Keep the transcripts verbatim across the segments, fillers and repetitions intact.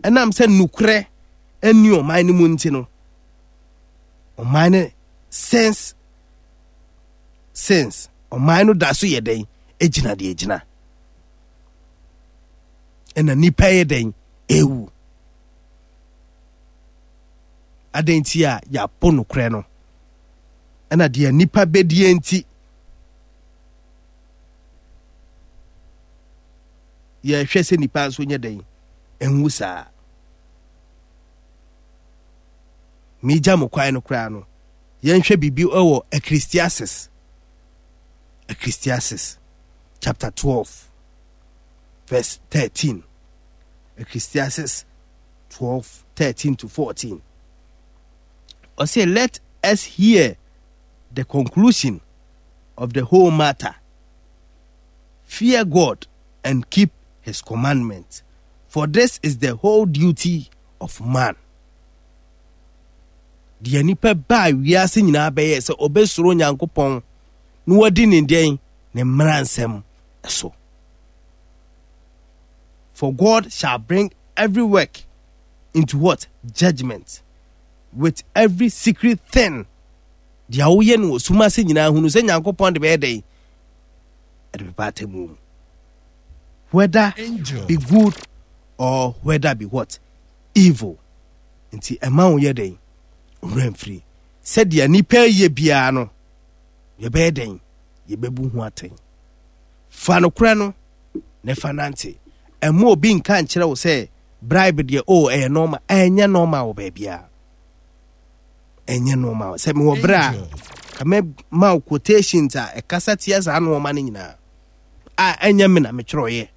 Ɛnam sɛ nukurɛ ɛni ɔman no mu nti no, ɔman no since since ɔman no da so yɛ dɛn egyina deɛ egyina, ɛna nipa yɛ dɛn ewu. Adan nti a yɛapo nokorɛ no, ɛna deɛ nipa bɛdie nti yɛhwɛ sɛ nipa nso nyɛ dɛn ɛnwu saa. Megya mo kwan no koraa no, yɛnhwɛ biribi wɔ Ecclesiastes, Ecclesiastes chapter twelve verse thirteen. Ecclesiastes twelve thirteen to fourteen. Ɔsɛ, "Let us hear the conclusion of the whole matter. Fear God and keep his commandments, for this is the whole duty of man." Deɛ nipa baa wiase nyinaa bɛyɛ sɛ ɔbɛsuro Nyankopɔn na wadi ne deɛn ne mmara nsɛm so. "For God shall bring every work into" what? "Judgment, with every secret thing." Deɛ woyɛ no wɔ sum ase nyinaa, hunu sɛ Nyankopɔn de bɛyɛ dɛn ɛde bɛba atemmu mu, whether be good or whether be what? Evil. Nti ɛma wo yɛ dɛn owura mfiri sɛdeɛ nipa yɛ biara no, yɛbɛyɛ dɛn yɛbɛbu ho atɛn. Fa nokorɛ no na fa nante. Ɛma obi nka nkyerɛ wo sɛ bribe deɛ o ɛyɛ normal. Ɛnyɛ normal wɔ baabiara, ɛnyɛ normal. Sɛ mewɔ berɛ a, ka mɛma wo quotations a ɛkasa tia saa nneɛma no nyinaa a ɛnyɛ me na metwerɛeɛ.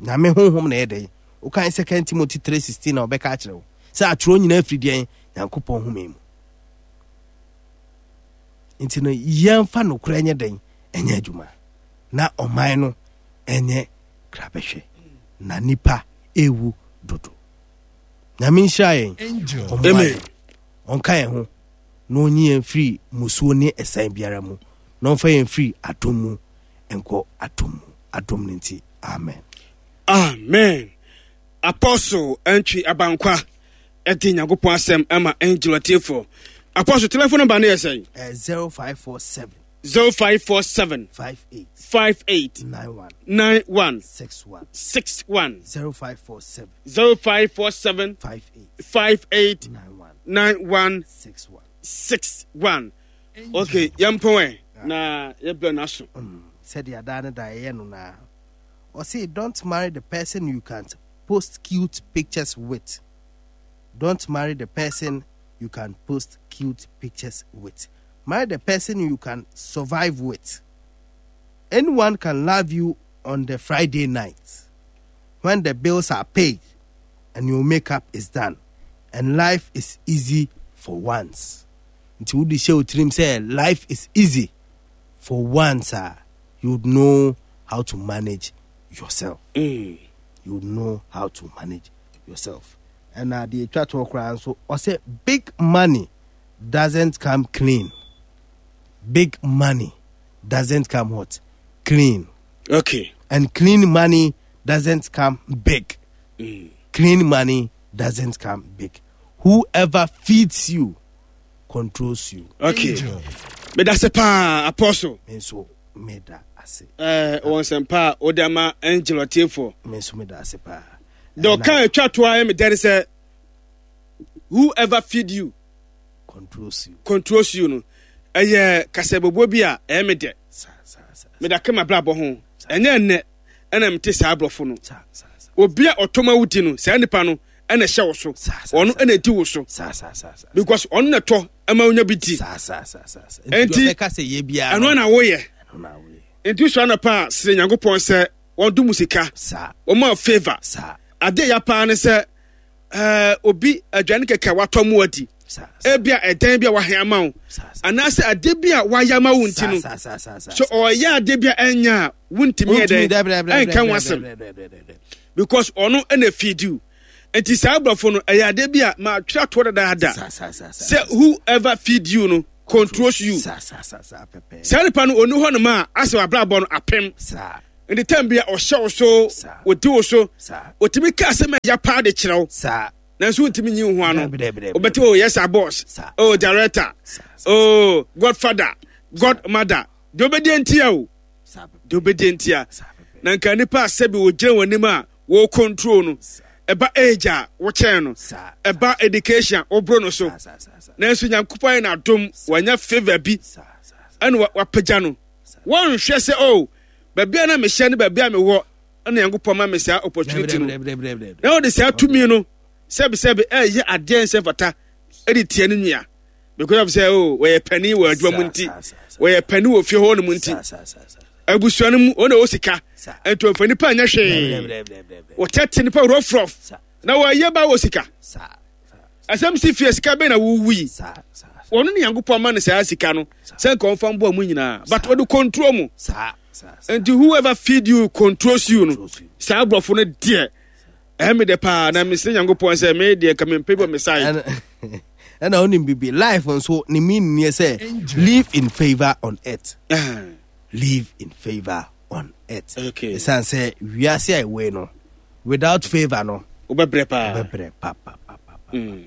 Nyame honhom na ɛyɛ dɛn wokan Second Timothy three sixteen na ɔbɛka akyerɛ wo sɛ atwerɛ nyinaa firi deɛn? Nyankopɔn home mu. Nti no yɛmfa nokorɛ nyɛ dɛn ɛnyɛ adwuma na ɔman no ɛnyɛ krabɛhwɛ na nipa ɛwu dodo. Nyame nhyira yɛn, ɔmmoa yɛn, ɔnka yɛn ho na ɔnyi yɛn firi musuo ne ɛsan biara mu na ɔmfa yɛn firi adom mu nkɔ adom mu. Adom no nti, amen. Amen. Apostle Antwi Abankwa ɛde Nyankopɔn asɛm ama Angel atiefoɔ. Apostle, telephone number no yɛ sɛn? uh, zero five four seven zero five four seven five eight five eight nine one nine one six one. six one. zero five four seven zero five four seven five eight five eight nine one nine one six one. six one. Okay, yɛmpɔn ɛ na yɛbrɛ no aso. Mm, sɛdeɛ adaa no da ɛyɛ no naa, ɔse, "Don't marry the person you can't post cute pictures with. Don't marry the person you can post cute pictures with. Marry the person you can survive with. Anyone can love you on the Friday night when the bills are paid and your makeup is done and life is easy for once." Nti wode hyɛ wo tirim sɛ life is easy for once a, you would know how to manage yourself. Mm. You would know how to manage yourself. Ɛna deɛ ɛtwa toɔ koraa nso, ɔsɛ, "Big money doesn't come clean. Big money doesn't come" what? "Clean." Okay "And clean money doesn't come big." mm. "Clean money doesn't come big. Whoever feeds you controls you." Okay, meda se paa, Apostle. Me nso meda ase. Eh, wɔ nsɛmpa a wode ama Angel atiefoɔ. Me nso meda ase paa. Deɛ ɔka atwa toa yɛ medɛ ne sɛ "Whoever feed you controls you." Controls you no, ɛyɛ kasabobuo bi a ɛyɛ me dɛ. Saa saa saa. Meda ka mabrabɔ ho, ɛnyɛ nnɛ ɛna mete saa aborɔfo no. Saa saa saa. Obi a ɔtɔm a wodi no, saa nipa no ɛna ɛhyɛ wo so. Saa, saa, ɔno saa. Ɛna ɛdi wo so saa saa saa saa. Because ɔno na ɛtɔ ɛma wonya bi di. Saa saa saa saa saa. Enti, ɔbɛka sɛ yɛ biara ɛno na woyɛ. Ɛno na woyɛ. Nti sua anɔpa a, srɛ Nyankopɔn sɛ wɔdom wo sika, saa wɔma wo favour. Saa adeɛ ya paa ne sɛ ɛɛ obi aduane kɛkɛ a watɔ mu adi, saa ebia ɛdan bi a wahɛn ama wo saa saa anaasɛ adeɛ bi a wayɛ ama wo nti no, saa saa saa saa. So ɔyɛ adeɛ bi a ɛnyɛ a wontumi yɛ dɛn ɛnka ho asɛm because ɔno ɛna feed you. Nti saa aborɔfo no, ɛyɛ adeɛ bi a maatwerɛ atoɔ dadaada saa saa saa saa sɛ whoever feed you no controls you. Saa saa saa saa pɛpɛ. Saa nipa no ɔni hɔ nom a asɛ wabrabɔ no apem. Saa. Nti time bi a ɔhyɛ wo so, ɔdi wo so, ɔtumi ka asɛm a ɛya paa de kyerɛ wo, nanso wontumi nyi wo ho ano. Wobɛte, oh yes sir boss, oh director, oh godfather, godmother. Deɛ wobɛdi ntia o, deɛ wobɛdi ntia. Na nka nipa a sɛbi wɔgyina wɔn anim a wɔ control no, ɛba age a wokyɛn no, ɛba education a woboro no so, nanso Nyankopɔn ayɛ n'adom, wanya favour bi ɛna wapagya no. Wɔnhwɛ sɛ oh baabi a na mehyɛ ne baabi a mewɔ ɛna Nyankopɔn ma me saa opportunity no, na wɔde saa tumi no sɛbisɛbi ɛyɛ adeɛ nsɛ mfata ɛde tia ne nua because of sɛ oh wɔyɛ panin wɔ adwuma mu nti, wɔyɛ panin wɔ fie hɔ nom nti, abusua no mu wɔn na ɛwɔ sika nti wɔmfa nipa nyɛ hwee, wɔtɛte nipa rɔfrɔf na wɔyɛ ba wɔ sika. Asɛm si fie sika bɛn na wowu yi, wɔn ne Nyankopɔn ma no saa sika no sɛ nka ɔmfa mboa mu nyinaa, but wɔde control mu. Nti whoever feed you controls you no, saa aborɔfo no deɛ ɛyɛ me dɛ paa, na mesrɛ Nyankopɔn sɛ me deɛ nka mempɛ bi wɔ me side. Ɛna wonim bibi life nso ne mean nie sɛ live in favor on earth, live in favor on earth. Ɛsiane sɛ wiase a ɛwɔ no without favor no wobɛbrɛ paa, wobɛbrɛ pa pa pa pa. Mm,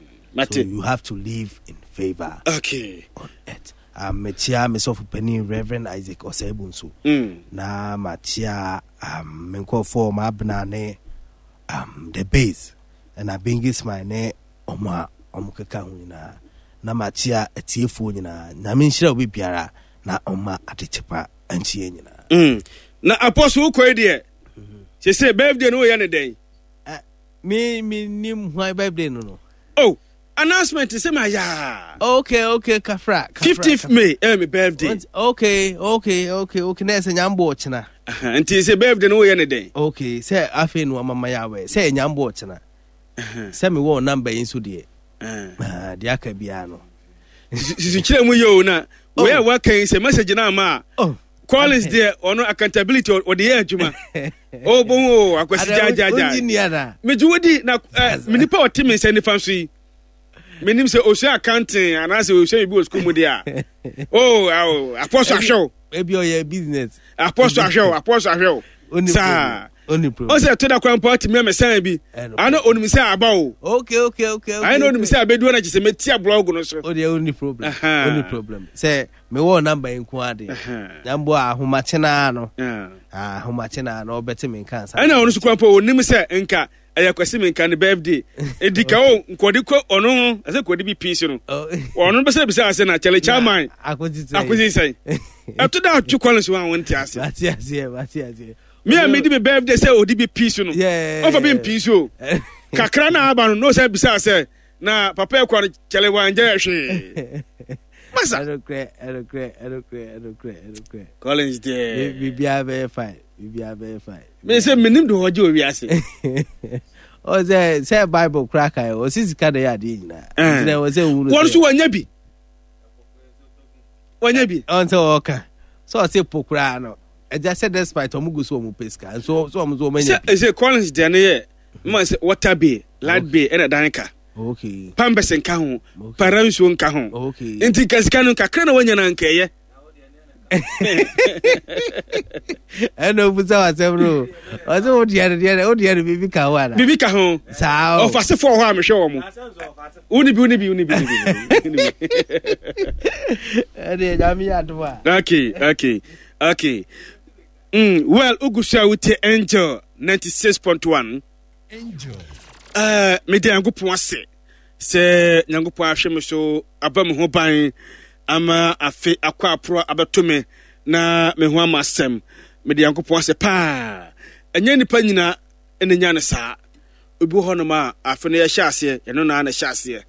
so you have to live in favor okay. on earth. Um, mekyia me sɔfo panin Reverend Isaac Osei nso. Mm. Na makyia um, me nkurɔfoɔ maabena ne um, the base ɛna Bengi Smile ne ɔmo a ɔmo keka ho nyinaa, na makyia atiefoɔ nyinaa. Nyame nhyira obi biara na ɔma adekyepa nkyeɛ nyinaa. Mm. Na Apostle wokɔe deɛ sese birthday no woyɛ ne dɛn? Uh, me me nim hwan birthday no no. Oh, announcement sɛ ma yaa. Okay, okay, kafra. fifteenth May ɛyɛ me birthday. Okay, okay, okay, okay. Na ɛsɛ nyambo ɔkyena. Nti sɛ birthday no woyɛ ne dɛn? Okay, sɛ afei no amama yɛ awɛ sɛ nyambo ɔkyena. Sɛ me wɔ number yi nso deɛ. Deɛ aka biara no. Sisi kyerɛ mu yɛ o na wei a waka yi sɛ message no ama a. Collins deɛ ɔno accountability ɔde yɛ adwuma. O bohu o akwasi gyaagyaagya. Megye wo di na me nipa ɔte me nsa nifa so yi. Menim sɛ osua accounting anaasɛ osua biribi wɔ sukuu mu deɛ a. O awo apɔso ahwɛ o. Ebi ɔyɛ business. Apɔso ahwɛ o, apɔso ahwɛ o. Saa. O sɛ ɛtɔ da kwan mpo atumi amɛsan bi. Ana onim sɛ aba o. Okay okay okay okay. Ayɛ na onim sɛ abedu na kyesɛ metia blog no so. O deɛ onni problem. Onni problem. Sɛ mewɔ number yi nko ade. Nyambo ahomakye naa no. Ahomakye naa no ɔbɛte me nka ansa. Ɛna ɔno so kwan mpo onim sɛ nka ɛyɛ Kwasi Menka ne birthday. Edi ka o nkɔde kɔ ɔno ho ɛsɛ nkɔde bi pii so no. Ɔno bɛsɛ bisa ase na kyɛlɛ chairman. Akosi sɛn. Ɛto da atwe kwan so a wɔnte ase. Mate aseɛ, mate aseɛ. Me a medi me birthday sɛ odi bi pii so no. Ɔfa bi mpii so. Kakra na aba no na ɔsɛ bisa sɛ na papa ɛkɔ no kyɛlɛ wangya hwee. Masa. Ɛnokorɛ, ɛnokorɛ, ɛnokorɛ, ɛnokorɛ, ɛnokorɛ. Collins deɛ. Biribiara bɛyɛ fine, biribiara bɛyɛ fine. Me sɛ menim de ɔgye wɔ wiase. Ɔ sɛ sɛ Bible kora kan ɔsi sika na ɛyɛ adeɛ nyinaa. Nti na ɛwɔ sɛ wunu sɛ. Wɔn nso wɔnyɛ bi. Wɔnyɛ bi. Ɔn sɛ ɔka sɛ ɔse po koraa no ɛgya sɛ despite ɔmo gu so ɔmo pɛ sika nso so ɔmo nso ɔmo anya bi. Sɛ ɛsɛ Collins deɛ no yɛ mma sɛ water bill light bill ɛna dan ka. Okay. Pampers nka ho. Para nsuo nka ho. Okay. Nti nka sika no kakra na wanya na nka ɛyɛ. Ɛna obusa wasɛm no ɔsɛ wo deɛ no deɛ wo deɛ no biribi ka ho ana? Biribi ka ho. Saa o. Ɔfasefoɔ hɔ a mehwɛ wɔ mo. Woni bi woni bi woni bi woni bi. Ɛdeɛ Nyame yɛ adom a. Okay, okay, okay. Mm, well, ugu so a wotie Angel ninety-six point one. Angel. Uh, mede Nyankopɔn ase sɛ Nyankopɔn ahwɛ me so aba me ho ban ama afe akɔ aporo abɛto me na me ho ama asɛm. Mede Nyankopɔn ase paa. Ɛnyɛ nipa nyina na nya no saa. Obi wɔ hɔnom a afe no yɛhyɛ aseɛ, yɛno na na ɛhyɛ aseɛ.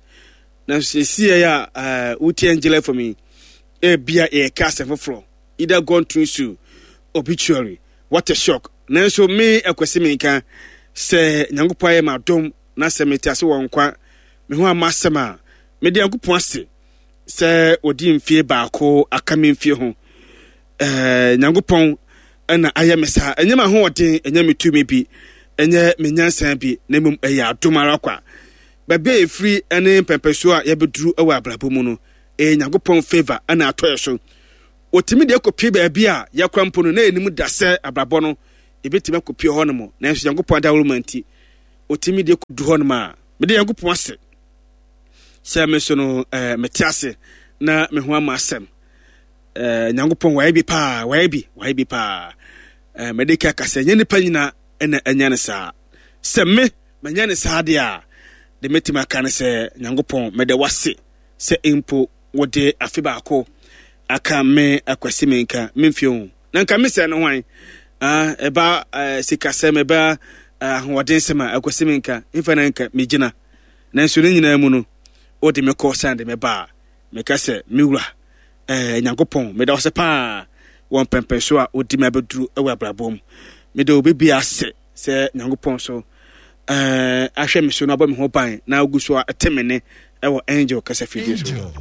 Nanso seesei a uh, wotie Angel F M yi, ebia yɛka asɛm foforɔ. Either gone through to obituary. What a shock. Nanso me Akwasi Menka sɛ Nyankopɔn ayɛ m'adom na sɛ mete ase wɔ nkwa me ho ama asɛm a, mede Nyankopɔn ase sɛ ɔdi mfie baako aka me mfie ho. Eh, Nyankopɔn na ayɛ me saa. Ɛnyɛ m'ahoɔden, ɛnyɛ me tumi bi, ɛnyɛ me nyansa bi, na mmom ɛyɛ adom ara kwa. Baabi a yɛfiri ne mpɛmpɛsoɔ a yɛbɛduru wɔ abrabɔ mu no, ɛyɛ Nyankopɔn favor na atɔ yɛ so. Wɔtumi de kɔpie baabi a yɛkora mpo no, na yɛnim da sɛ abrabɔ no Yɛbɛtumi akɔpie hɔ nom, nanso Nyankopɔn adaworo ma nti ɔtumi de kɔdu hɔ nom a, mede Nyankopɔn ase sɛ me so no eh, mete ase na me ho ama asɛm. eh, Nyankopɔn wayɛ bi paa, wayɛ bi, wayɛ bi paa. eh, mede ka ka sɛ nyɛ nipa nyina ɛna anya no saa. Sɛ me manya no saa deɛ a, de mɛtumi aka no sɛ Nyankopɔn mede wase sɛ mpo wode afe baako aka me Akwasi me nka memfie ho na nka me sɛ no hwan. Ah, ɛba eh, sikasɛm, ɛba eh, ahoɔdensɛm a, Akwasi me nka mfa na nka megyina. Nanso ne nyinaa mu no, wode me kɔ san de me ba a, meka sɛ me wura eh, Nyankopɔn meda wo sɛ paa wɔ mpɛmpɛn so a wodi me abɛduru wɔ abrabɔ mu. Meda obi bi ase sɛ Nyankopɔn so eh, ahwɛ me so na abɔ me ho ban na ogu so a ɛte me ne ɛwɔ Angel kasa fidie so. Angel.